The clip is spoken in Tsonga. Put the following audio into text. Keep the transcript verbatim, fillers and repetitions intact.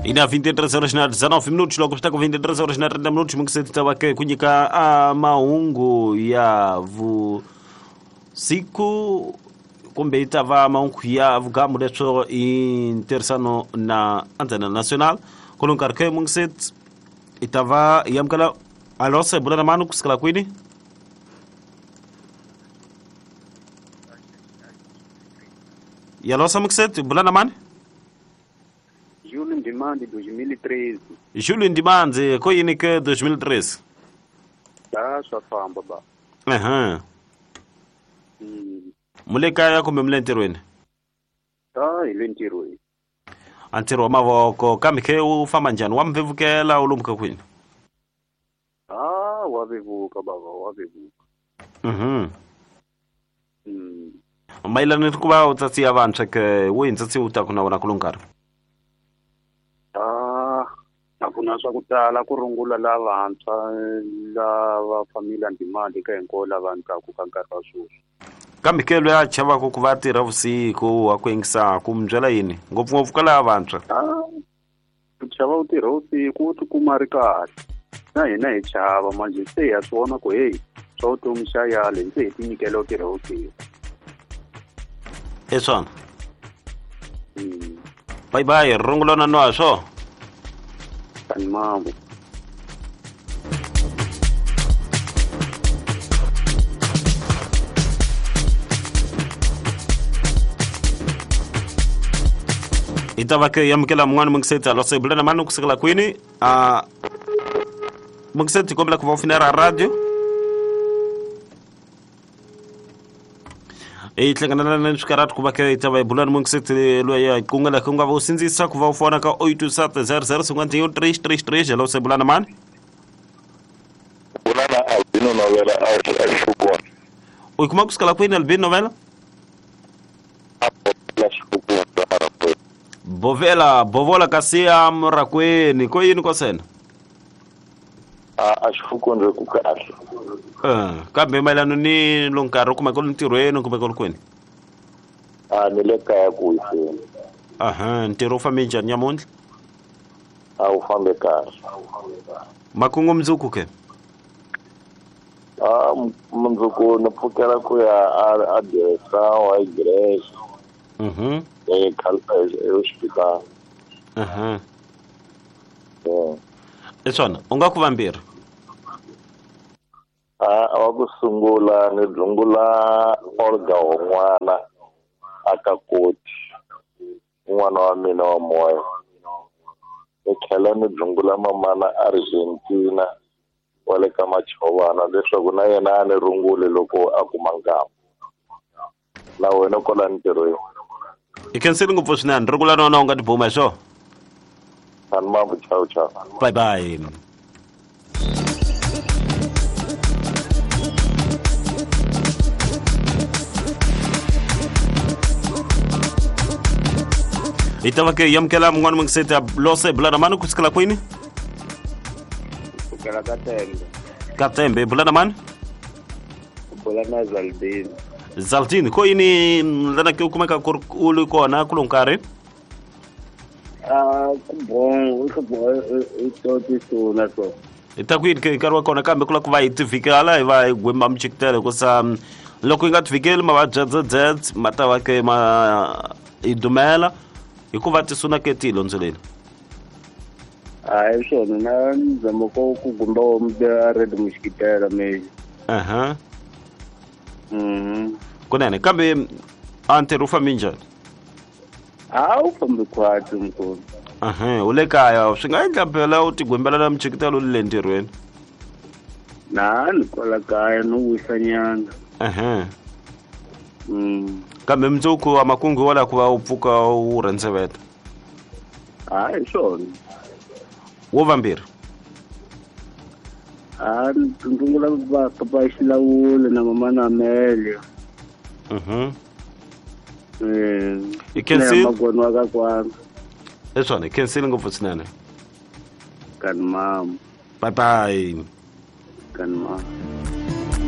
Ina vinte e três horas na dezenove minutos, logo está com vinte e três horas na trinta minutos, mungiseti tawake kunyika a mahungu ya vusiku kumbe itava mahungu ya vugamu leswo intersano na Antena Nacional. Kulo nkarhi ke mungiseti itava yamkala alose bulana manu kusikala kwini? Yalosa mungiseti bulana mani? Júlio Ndimande dois mil e treze. Júlio Ndimande, ko yini ke dois mil e treze? Tá, só famba ba. Aham. Mm. Muleka ya kumbe mlentirweni? Tá, ilentirweni. Antiro wa mavoko kambe ke u famba njhani? Wa mvevukela u lumka kwini? Ah, wa vevuka baba, wa vevuka. Mhm. Mm. Mayelana ni ku va u tsatsiya vantshwa ke wihi ntsatsi u taku na wona kulo nkarhi? Ah, a ku na swa ku tala ku rungula lavantshwa lava família Ndimande ka hinkwavo lava ndlaku ka nkarhi wa sweswi. Kambe ke loyi a chavaka ku va tirha vusiku wa ku yingisaku mi byela yini ngopfungopfu ka lava vantshwa? Ah, ku chava u tirha vusiku u tikuma ri kahle na hina hi chava manje se ha swi vona ku heyi swa vutomi xa yale se hi tinyikela u tirha vusiku. I swona. Mm. Bye bye, rungula na nwa swo. Mambo. Itava ke yamukela mun'wana mungiseti alose bulana mani kusukela kwini? Ah, mungiseti kombela ku va u finera radio. E hlangana na swikarhati ku va ke itava hi bulana mungiseti loyi a qungela ku nga va u sindzisa ku va u fona ka oito sete zero zero cinquenta e um três três três. Alô, bulana mani? Bulana Albino Novela a Xukwana. U kuma kusukela kwini Albino Novela? Bovela, bovola kasi ya Murakweni, ko yini ko sena? A a xifukundze ku kahle. Eh, kambe mayelana ni lo nkarhi kumbe ku ntirhweni kumbe ku kwini? A ni le kaya ku wiseni. Aha, ntirho wu fambe njhani nyamuntlha? A wu fambe kahle. Makungu mundzuku ke? A mundzuku ni pfukela ku ya a a direção a igreja. Mhm. E hospital. Aha. Eh. I swona, u nga ku vambirhi? A wa ku sungula ni dlungula Olga Hon'wana aka koti n'wana wa mina wa moya. Ni tlhela ni dlungula mamana Argentina wa le ka Machovana leswaku na yena a ni rungule loko a kuma nkama. Na wena kwala ntirhweni. I khensile ngopfu swinene, rungula na wona u nga tibuma hi swona. Mambo, chao chao. Bye bye. Itava ke yamukela mun'wana mungiseti lose bulana mani kusukela kwini? Kusukela ka Tembe. Ka Tembe, bulana mani? Bulana Zaldini. Zaldini, ko yini lana ke u kumeka ku u ri kona kulo nkarhi? Ah, ku bon, ku bon, i to tisuna so. Hi ta ku yini ke nkarhi wa kona kambe ku lava ku va hi tivikela hi va hi gwema michikitelo hikusa loko yi nga tivikeli mavabyi ya Z Z ma ta va ke ma hi dumela hikuva tisuna ke ti londzoleni. A hi swona na nzamo ko ku gumba wa red muxikitela me. Aha. Mhm. Kunene kambe a ntirho wu fambe njhani? A wu fambi khwatsi mkhulu. Aha, u le kaya swi nga endla phela u tigwembela na michikitelo u le ntirhweni. Na ni kwala kaya no wisa nyana. Aha. Mm. Kambe mundzuku wa makungu wa la ku va u pfuka u rhendzeveta. A hi swona. Wo vambirhi. A ndungula va papa xilawule na mama na Amelia. Mhm. Eh. I khensile magwani wa ka kwana. I swona, i khensile ngopfu swinene. Kani mama. Bye bye. Kani mama.